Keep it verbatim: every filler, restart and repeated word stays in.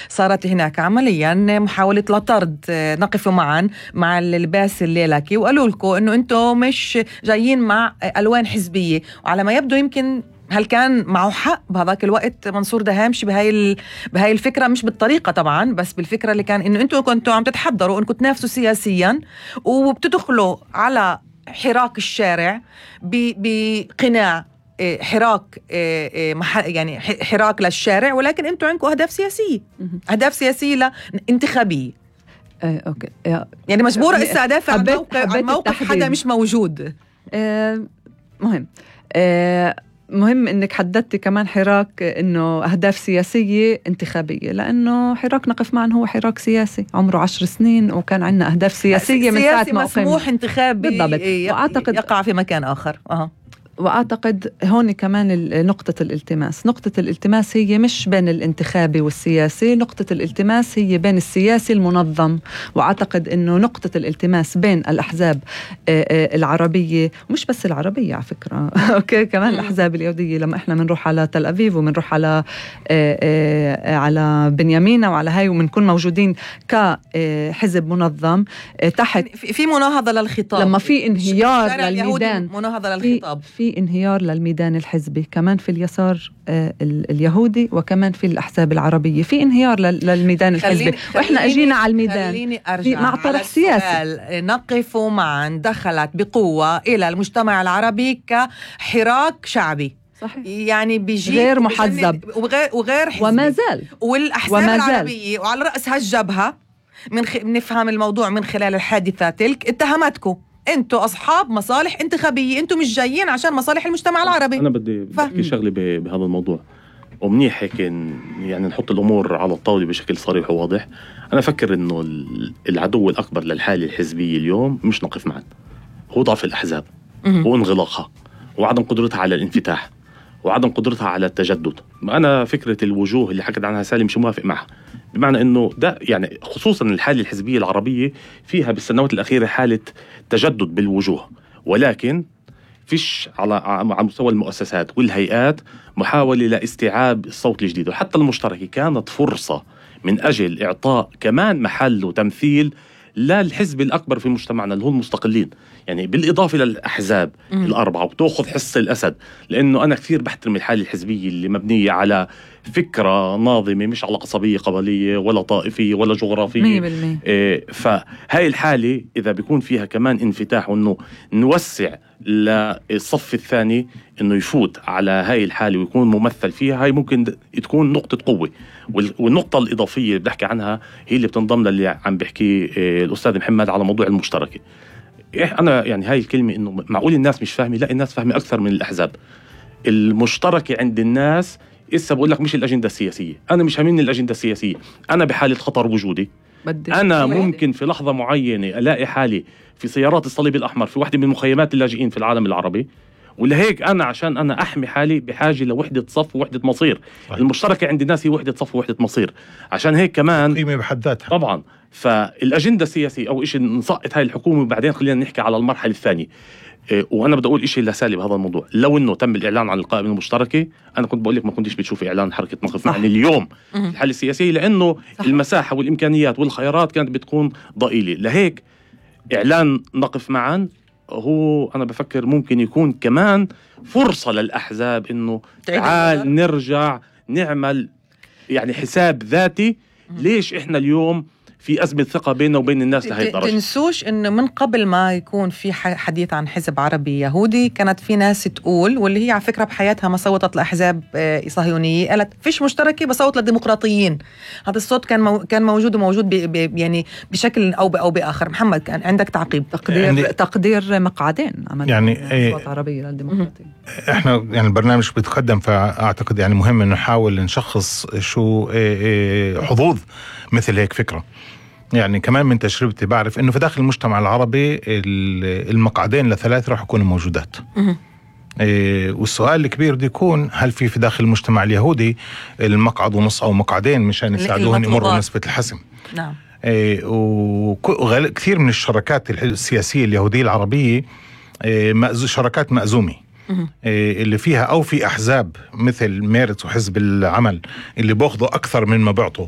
صارت هناك عمليا محاولة لطرد نقف معا مع اللباس الليلكي، وقالوا لكم انه انتم مش جايين مع الوان حزبية. وعلى ما يبدو يمكن هل كان معه حق بهذاك الوقت منصور دهامشي بهاي ال... بهاي الفكرة، مش بالطريقة طبعا، بس بالفكرة اللي كان انه انتم كنتوا عم تتحضروا انكم تنافسوا سياسيا وبتدخلوا على حراك الشارع بقناع حراك يعني حراك للشارع، ولكن انتم عندكم اهداف سياسيه اهداف سياسيه لا انتخابيه. اه اوكي يعني مجبوره اسا ادافع عن موقف عن موقف حدا مش موجود. اه مهم اه مهم انك حددتي كمان حراك انه اهداف سياسيه انتخابيه، لانه حراك نقف معا هو حراك سياسي عمره عشر سنين وكان عندنا اهداف سياسيه من ساعه ما مسموح انتخابي بالضبط. واعتقد يقع في مكان اخر. اها وأعتقد هون كمان نقطة الالتماس نقطة الالتماس هي مش بين الانتخابي والسياسي، نقطة الالتماس هي بين السياسي المنظم. وأعتقد أنه نقطة الالتماس بين الأحزاب العربية، ومش بس العربية على فكرة أوكي كمان الأحزاب اليهودية، لما إحنا منروح على تل أبيب ومنروح على على بنيامينا وعلى هاي ومنكون موجودين كحزب منظم تحت في مناهضة للخطاب، لما في انهيار للميدان مناهضة للخطاب، في انهيار للميدان الحزبي كمان في اليسار آه اليهودي وكمان في الأحزاب العربية، في انهيار للميدان الحزبي. خليني وإحنا أجينا على الميدان خليني أرجع مع طرح سياسي. نقف معا دخلت بقوة إلى المجتمع العربي كحراك شعبي صحيح. يعني بيجي غير محزب وغير, وغير حزبي وما زال والأحزاب وما العربية وعلى رأسها الجبهة من خ... نفهم الموضوع من خلال الحادثة تلك اتهمتكم انتوا اصحاب مصالح انتخابيه، انتوا مش جايين عشان مصالح المجتمع العربي. انا بدي احكي شغله بهذا الموضوع ومنيح هيك يعني نحط الامور على الطاوله بشكل صريح وواضح. انا افكر انه العدو الاكبر للحاله الحزبيه اليوم مش نقف معا، هو ضعف الاحزاب وانغلاقها وعدم قدرتها على الانفتاح وعدم قدرتها على التجدد. انا فكره الوجوه اللي حكت عنها سالم مش موافق معها، بمعنى انه ده يعني خصوصا الحاله الحزبيه العربيه فيها بالسنوات الاخيره حاله تجدد بالوجوه، ولكن فيش على على مستوى المؤسسات والهيئات محاوله لاستيعاب الصوت الجديد. وحتى المشتركه كانت فرصه من اجل اعطاء كمان محل وتمثيل للحزب الأكبر في مجتمعنا اللي هو المستقلين، يعني بالإضافة للأحزاب م. الأربعة، وبتأخذ حصة الأسد. لأنه أنا كثير بحترم الحالة الحزبية اللي مبنية على فكرة ناظمة مش على قصبية قبلية ولا طائفية ولا جغرافية مية بالمية. إيه فهاي الحالة إذا بيكون فيها كمان انفتاح وإنه نوسع للصف الثاني إنه يفوت على هاي الحالة ويكون ممثل فيها، هاي ممكن تكون نقطة قوة. والنقطة الإضافية اللي بحكي عنها هي اللي بتنضم للي عم بحكي الأستاذ محمد على موضوع المشتركة. أنا يعني هاي الكلمة إنه معقول الناس مش فاهمة، لا الناس فاهمة أكثر من الأحزاب. المشتركة عند الناس إسا بقول لك مش الأجندة السياسية، أنا مش هامني الأجندة السياسية، أنا بحالة خطر وجودي. أنا ممكن في لحظة معينة ألاقي حالي في سيارات الصليب الأحمر في واحدة من مخيمات اللاجئين في العالم العربي، ولهيك أنا عشان أنا أحمي حالي بحاجة لوحدة صف ووحدة مصير. صحيح. المشتركة عند الناس هي وحدة صف ووحدة مصير، عشان هيك كمان قيمة بحد ذاتها طبعا. فالأجندة السياسية أو إشي نسقط هاي الحكومة وبعدين خلينا نحكي على المرحلة الثانية. إيه وأنا بدي أقول إشي لسالي بهذا الموضوع، لو إنه تم الإعلان عن القائمة المشتركة أنا كنت بقول لك ما كنتش بتشوفي إعلان حركة نقف معا اليوم الحالة السياسية، لأنه صح. المساحة والإمكانيات والخيارات كانت بتكون ضئيلة. لهيك إعلان نقف معا هو أنا بفكر ممكن يكون كمان فرصة للأحزاب إنه تعال نرجع نعمل يعني حساب ذاتي. ليش إحنا اليوم في أزمة ثقة بيننا وبين الناس لهي الدرجة؟ تنسوش إنه من قبل ما يكون في حديث عن حزب عربي يهودي كانت في ناس تقول، واللي هي على فكرة بحياتها ما صوتت لأحزاب صهيونية، قالت فيش مشتركة بصوت للديمقراطيين. هذا الصوت كان مو كان موجود وموجود يعني بشكل أو أو بآخر. محمد كان عندك تعقيب؟ تقدير يعني تقدير مقعدين عمل يعني صوت عربي للديمقراطيين. إحنا يعني البرنامج بيتقدم، فأعتقد يعني مهم إنه نحاول نشخص شو حظوظ مثل هيك فكرة. يعني كمان من تجربتي بعرف إنه في داخل المجتمع العربي المقعدين لثلاث رح يكونوا موجودات. إيه والسؤال الكبير بده يكون هل في في داخل المجتمع اليهودي المقعد ونص أو مقعدين مشان يساعدوهم يمروا نسبة الحسم. نعم. إيه وكثير من الشركات السياسية اليهودية العربية إيه شركات مأزومة. إيه اللي فيها أو في أحزاب مثل ميرت وحزب العمل اللي بأخذوا أكثر من ما بيعطوا